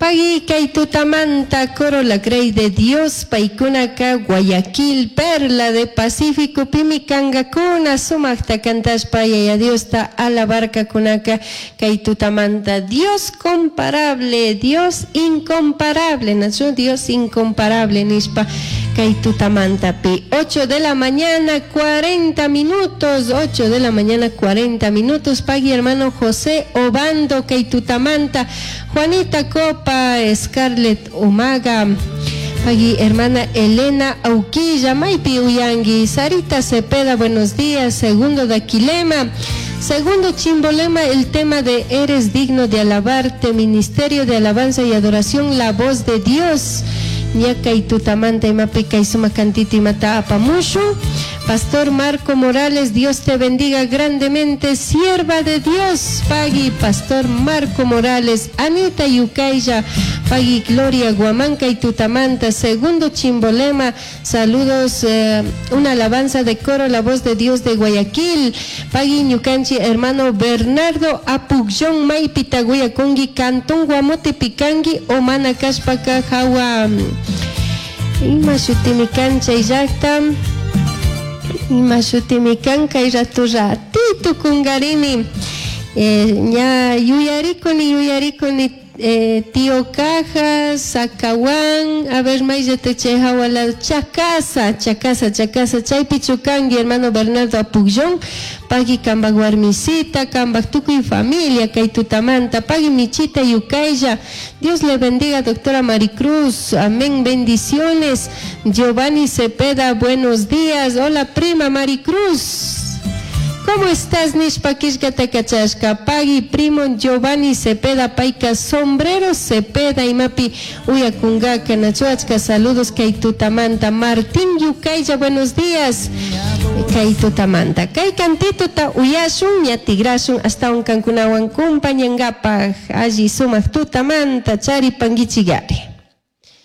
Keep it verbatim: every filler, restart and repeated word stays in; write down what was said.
Pagui kay tutamanta coro La Grey de Dios paykunaka Guayaquil Perla de Pacífico pimi kankakuna sumakta kantashpa yaya Diosta alabarkakunaka kay tutamanta Dios comparable, Dios incomparable, nachu Dios incomparable nishpa kay tutamantapi ocho de la mañana cuarenta minutos, ocho de la mañana cuarenta minutos, pagui hermano José Obando kay tutamanta, Juanita Copa, Scarlett Umaga, pagui hermana Elena Auquilla, Maypi uyangi, Sarita Cepeda, buenos días, segundo de Aquilema, segundo Chimbolema, el tema de Eres digno de alabarte, Ministerio de Alabanza y Adoración, la voz de Dios, ñakay tutamanta imapi kay sumak cantito imata apamushu. Pastor Marco Morales, Dios te bendiga grandemente, sierva de Dios, pagui Pastor Marco Morales, Anita Yucaya, pagui Gloria Guamanca y Tutamanta, segundo Chimbolema, saludos, eh, una alabanza de coro, la voz de Dios de Guayaquil, pagui ñukanchik, hermano Bernardo Apugyón, Maypita uyacungui, Cantón Guamote Picangui, Omana kashpaka, Jawa, ima shutimi kan chay llakta, ima shutimi kan kay rato ratito kungarini, eh, ña yuyarikuni yuyarikuni eh, tío Cajas, Zacahuán, a ver, mayllata chay hawa lado, Chacasa, Chacasa, Chacasa, chaypi chukangi, hermano Bernardo Apugyón, pagui kambak warmisita, kambak tukuy familia, kay tutamanta, pagui michita yucaya, Dios le bendiga, doctora Maricruz, amén, bendiciones, Giovanni Cepeda, buenos días, hola prima Maricruz. ¿Cómo estás, nishpa killkata kachashka? Pagui primo Giovanni Cepeda payka sombrero Cepeda imapi uyakungaka nachuachka saludos kay tutamanta Martín Yucaya, buenos días. Kay tutamanta. Kay cantituta uyashun ña tigrashun hasta un kankunawan kumpañangapaj alli sumak tutamanta charipanguichigari.